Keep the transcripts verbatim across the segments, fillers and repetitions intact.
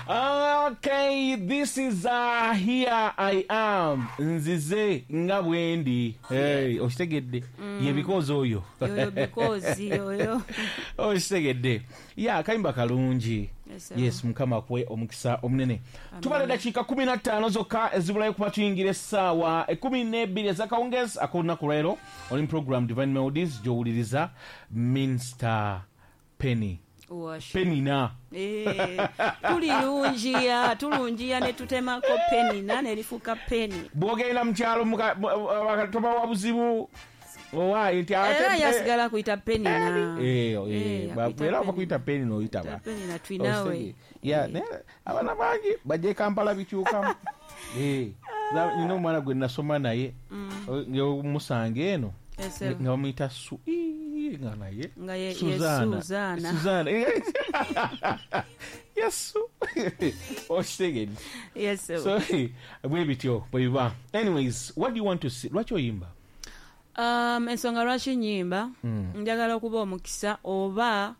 Okay, this is uh, Here I Am, nzize nga bwendi. Hey, okitegedde? Ye because oyo. Yoyo because yoyo. Okitegedde? Ya kayimba kalungi. Yes, sir. Yes, Mukama akuwe omukisa omunene. Tubale dakiika kumi na ttaano zokka ezibulayo kuba tuyingira essaawa ekkumi n'ebbiri ez'akawungeezi ak'olunaku lwaleero. Oli mu program Divine Melodies gy'owuliriza Minister Penny. Worship. Penina. Eh, tulirungiya, tulungiya ne tutemako penina ne lifuuka penny. Bw'ogenda mu kyalo muka- mu- mu- tobawa buzibu owaaye nti ate- Era yasigala kuyita penina. Eh, eh, Eh, ba- akuyita era penny. bakuyita penny n'oyitaba. Penina twinawe. Osege. Ya, naye abaana bangi bajja e Kampala bikyukamu. Eh, za- nina omwana gwe nasoma naye nga omusanga eno Yes, sir. nga bamuyita Su, ii, nga naye Nga ye- ye Suzaana. Suzaana. Suzaana. Yesu, okitegedde? Yes, sir. So bwe bityo bwe biba. Anyways, what do you want to see? Lwaki oyimba? Um, ensonga lwaki nyimba, Mm. njagala okuba omukisa oba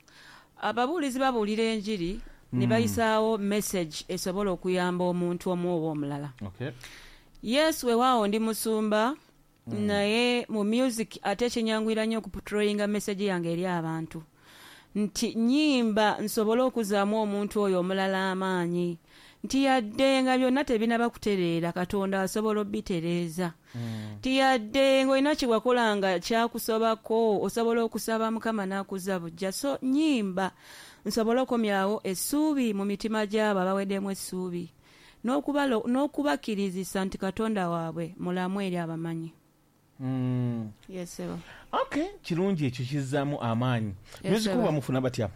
ababuulizi babuulira enjiri ne bayisaawo message esobola okuyamba omuntu omu oba omulala. Okay yes, weewaawo ndi musumba, naye mu music ate kyenyanguyira nnyo okuportrayinga message yange eri abantu nti nyimba nsobole okuzaamu omuntu oyo omulala amaanyi nti yadde nga byonna tebinaba kutereera, Katonda asobola obitereeza, nti yadde ng'olina kyewakola nga kyakusobako, osobola okusaba Mukama n'akuzza bujja. So nyimba nsobole okomyawo essuubi mu mitima gy'abo abaweddemu essuubi n'okubalo- n'okubakkirizisa nti Katonda waabwe mulamu eri abamanyi. Mm. Yes, sir. Okay, kirungi, ekyo kizzaamu amaanyi. Yes, music sir. Bamufuna batya?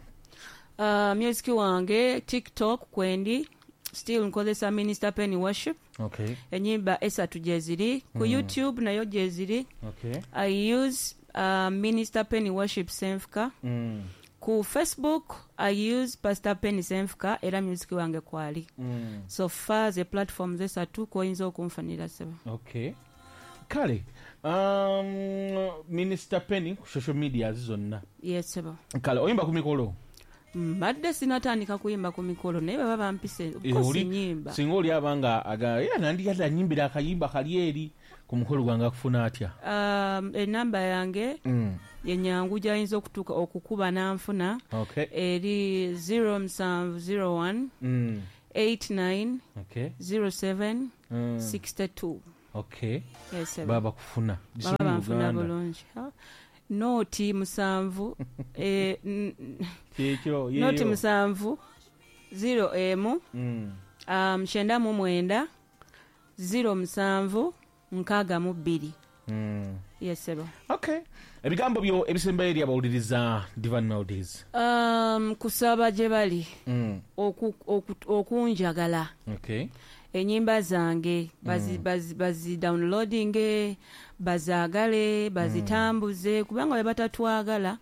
Uh, music wange TikTok kwendi still nkozesa Minister Penny Worship. Okay enyimba esatu gyeziri ku YouTube, nayo gyeziri. Okay I use uh, Minister Penny Worship Senfuka. mm. Ku Facebook I use Pastor Penny Senfuka, era music wange kwali. Mm. So far ze platforms esatu kwoyinza okunfunira, seba. Okay, kale, um, Minister Penny ku social media zonna. Yes, seba. Kale, oyimba ku mikolo? Mbadde sinatandika kuyimba ku mikolo, naye baba bampise, Eh, of course oli- nyimba. Singa oli abanga aga era nandiyadde anyimbira akayimba kali eri ku mukolo gwange, akufuna atya? um, enamba yange mm. yenyangu gyayinza okutuuka okukuba nanfuna okay eri zero seven zero one mm. eight nine okay zero seven mm. six two. Okay Yes, sir. Baba kufuna. Baba banfuna bulungi. Ha? Nooti musanvu eh, n- Kyekyo. nooti musanvu zero emu mm. um, kyenda mu mwenda zero musanvu nkaaga mu bbiri. mm. Yes, sir. Okay, ebigambo byo ebisembayo eri abawuliriza Divine Melodies? um, kusaba gye bali mm. oku- oku- okunjagala, okay enyimba zange bazi, mm. bazi, bazi downloadinge, bazaagale, bazitambuze, kubanga bwe batatwagala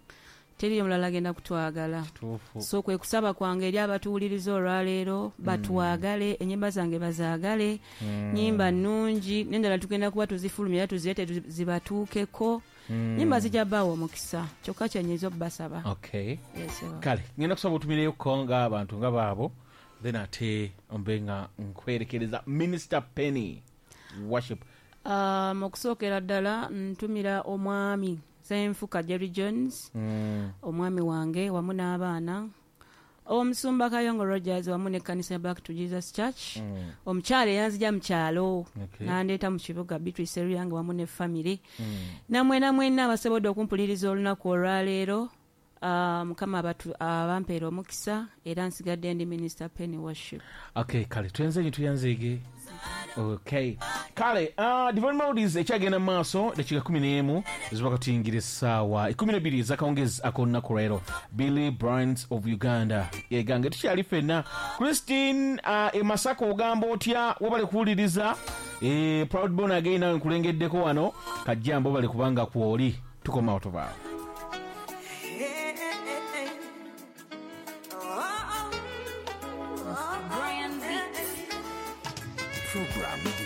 teriyo mulala agenda kutwagala. Kituufu. So kwe kusaba kwange eri abatuwuliriza olwaleero, batwagale, enyimba zange bazaagale. Mm. Nyimba nnungi, nendala tugenda kuba tuzifulumya era tuzireete tu- zibatuukeko. Mm. Nyimba zijja bbaawo omukisa, kyokka kyenyinza obbasaba. Okay Yes, sir. Kale, ngenda kusaba otumireyoko ng'abantu nga baabo, then ate mbe nga nkwerekereza Minister Penny Worship. Um, okusookera ddala ntumira omwami Senfuka Jerry Jones, mm. omwami wange wamu n'abaana, omusumba Kayongo Rogers wamu n'ekkanisa ya Back to Jesus Church, Mm. omukyala eyanzija mu kyalo Okay. nandeeta mu kibuga, Beatrice Eryange, wamu ne famire, Mm. namwe namwenna abasobodde okumpuliriza olunaku olwaleero. uh, mukama abatu- abampeera omukisa, era nsigadde ndi Minister Penny Worship. Okay, kale, tweyanze, tuyanzeege. Okay, kale, uh, Divine Melodies ekyagenda mu maaso, dakiika kumi n'emu ezibaka tuyingira essaawa ekumi n'ebbiri ezakawungezi ak'olunaku lwaleero. Billy Brands of Uganda yegange tukyali ffenna. Christine uh, e Masaka, ogamba otya? Webale kuwuliriza. eh, proud born again, nawe nkulengeddeko wano. Kajjambo, bale kubanga kwoli tukomawo tubaawo.